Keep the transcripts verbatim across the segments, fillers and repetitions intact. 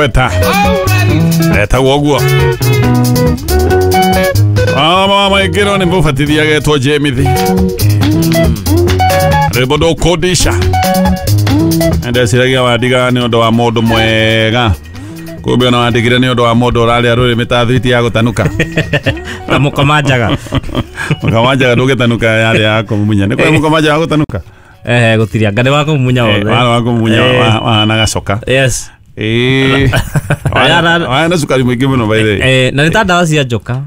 Igweta etagwo ũguo. Mama maingĩrwo nĩ mũbatithia agetwo Jemithi. Rwĩmbo ndũkũndisha. Ndeciragia wandiga nĩ ũndũ wa mũndũ mwega, kumbe ona wandigire nĩ ũndũ wa mũndũ ũrarĩa rũrĩmĩ ta thwiti ya gũtanuka. Na mũkomanjaga. Mũkomanjaga ndũgĩtanuka yarĩ ya kũmumunya. Nĩ kũrĩ mũkomanjaga wa gũtanuka? Eh, gũtirĩ anga nĩ wa kũmumunya wothe. Warĩ wa kũmumunya wahana gacoka. Yes. Ĩĩ. Wahana cukari mũingĩ mũno by the way. Eh, na nĩ ta ndawa cia njoka.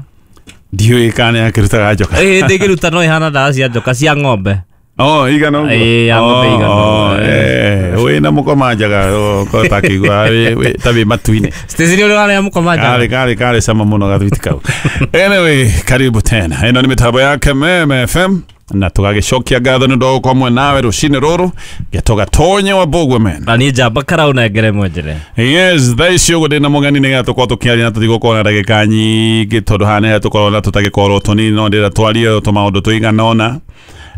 Ndiũĩ kana yakĩrutaga njoka. Ĩĩ, ndĩngĩruta no ĩhana ndawa cia njoka cia ng'ombe. Oh, igana ũguo. Ĩĩ, ya ng'ombe igana ũguo. Eh, wĩna mũkomanjaga ũkorwo takĩigua ta wĩ matu-inĩ. Stacy nĩ ũrĩ warĩa mũkomanjaga? Karĩ karĩ karĩ cama mũno gathwiti kau. Anyway, karibu tena. Ĩno nĩ mĩtambo ya Kameme F M na tũgagĩcokia ngatho nĩ ũndũ wa gũkorwo hamwe nawe rũcinĩ rũrũ gĩtũgatonye wa Mbũgwe men. Na niĩ njamba karau nengere mwenjere. Yes, thaa ici ũguo ndĩna mũgeni nĩgetha tũkorwo tũkĩaria na tũtigũkorwo na ndagĩka nyingĩ tondũ haha nĩho tũkorwo na tũtagĩkorwo tũnini no ndĩrenda twarie tũmaũndũ tũigana ũna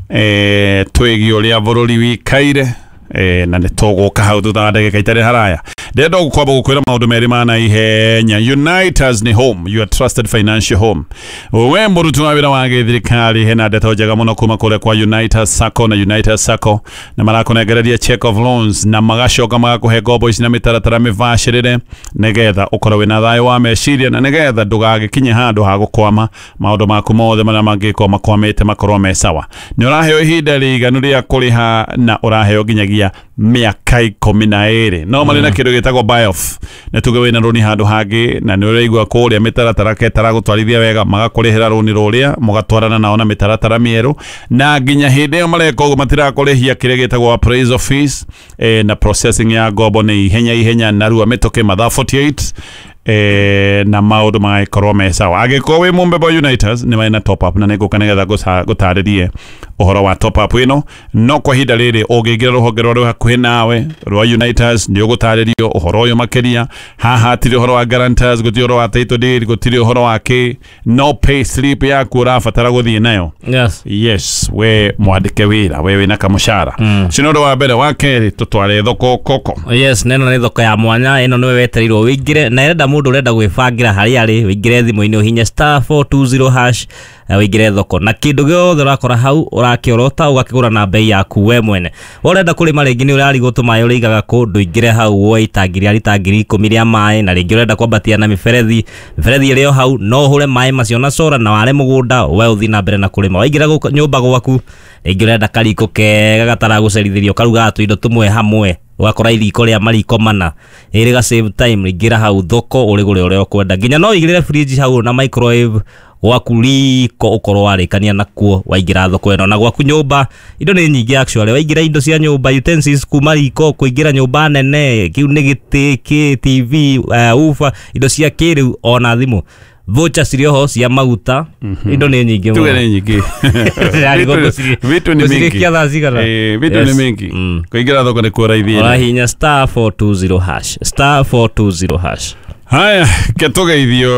eh twĩgiĩ ũrĩa bũrũri wikaire eh na nĩ tũgũka hau thutha wa ndagĩka itarĩ haraya. Ndĩrenda gũkwamba gũkwĩra maũndũ merĩ ma naihenya. Unitas nĩ home, your trusted financial home. We mũruti wa wĩra wa gĩthirikari hena ndeto njega mũno kuma kũrĩa kwa Unitas Sacco na Unitas Sacco na marakũnengereria check of loans na magacoka magakũhe ngombo ici na mĩtaratara mĩbacĩrĩre nĩgetha ũkorwo wĩna thayũ wa meciria na nĩgetha ndũgagĩkinye handũ ha gũkwama maũndũ maku mothe marĩa mangĩkorwo makwamĩte makorwo me sawa. Nĩ ũraheo ihinda rĩiganu rĩa kũrĩha na ũraheo nginyagia mĩaka ikũmi na ĩrĩ. No marĩ na kĩndũ gĩtagwo buy off. Nĩ tuge wĩna rũni handũ hangĩ na nĩ ũraigua kũrĩa mĩtaratara ketaragũtwarithia wega magakũrĩhĩra rũni rũrĩa mũgatwarana nao na mĩtaratara mĩerũ na nginya hĩndĩ ĩyo mareka ũguo matirakũrĩhia kĩrĩa gĩtagwo appraisal fees eh, na processing ya ngombo nĩ ihenya ihenya narua mĩtũkĩ mathaa forty eight eh, na maũndũ magagĩkorwo me sawa. Angĩkorwo wĩ mũmbemba Unitas nĩ marĩ na top up na nĩngũka nĩgetha ngũtarĩrie ũhoro wa top up ĩno, no kwa ihinda rĩrĩ ũngĩingĩra rũhonge rwa rwĩ hakuhĩ nawe rwa Unitas nĩ ũgũtarĩrio ũhoro ũyũ makĩria. Haha hatirĩ ũhoro wa guarantors, gũtirĩ ũhoro wa title deed, gũtirĩ ũhoro wa kĩ, no pay slip yaku ũrabatara gũthiĩ nayo. Yes. Yes, we mwandĩke wĩra, we wĩna kamũcara. Ũcio nĩ ũndũ wa mbere. Wa kerĩ tũtware thoko koko. Yes, na ĩno nĩ thoko ya mwanya, ĩno nĩwe wetereirwo wĩingĩre na ĩrenda mũndũ ũrenda gwĩbangĩra harĩa arĩ, wĩingĩre thimũ-inĩ ũhinye star four two zero hash wĩingĩre thoko na kĩndũ gĩothe ũrakora hau ũrakĩorota ũgakĩgũra na bei yaku we mwene. Ũrenda kũrĩma rĩngĩ nĩ ũrarigwo tũmaĩ ũrĩigaga kũ, ndũingĩre hau woe itangi rĩa rita ngiri ikũmi rĩa maĩ, na rĩngĩ ũrenda kwambatia na mĩberethi, mĩberethi ĩrĩ o hau no ũhũre maĩ macio na cora na ware mũgũnda we ũthiĩ na mbere na kũrĩma. Waingĩra nyũmba gwaku rĩngĩ ũrenda kariko kega gataragũcerithĩrio karugaga tũindo tũmwe hamwe ũgakora iriko rĩa mariko mana ĩrĩ ga save time, ingĩra hau thoko ũrĩgũre ũrĩa ũkwenda, nginya no ũigĩrĩre fridge hau na microwave gwaku riko ũkorwo warĩkania nakuo waingĩra thoko ĩno. Na gwaku nyũmba indo nĩ nyingĩ actually, waingĩra indo cia nyũmba utensils kuma riko kũingĩra nyũmba nene kĩu nĩ gĩtĩ kĩ T V uh, ufa indo cia kĩrĩu ona thimũ voucher cirĩ oho cia maguta, indo nĩ nyingĩ mũno. Tuge nĩ nyingĩ. Vitu ni mingi. Eh, vitu ni mingi. Kũingĩra thoko nĩ kuo raithi. Ũrahihinya star four two zero hash star four two zero hash. Haya, ketũgeithio.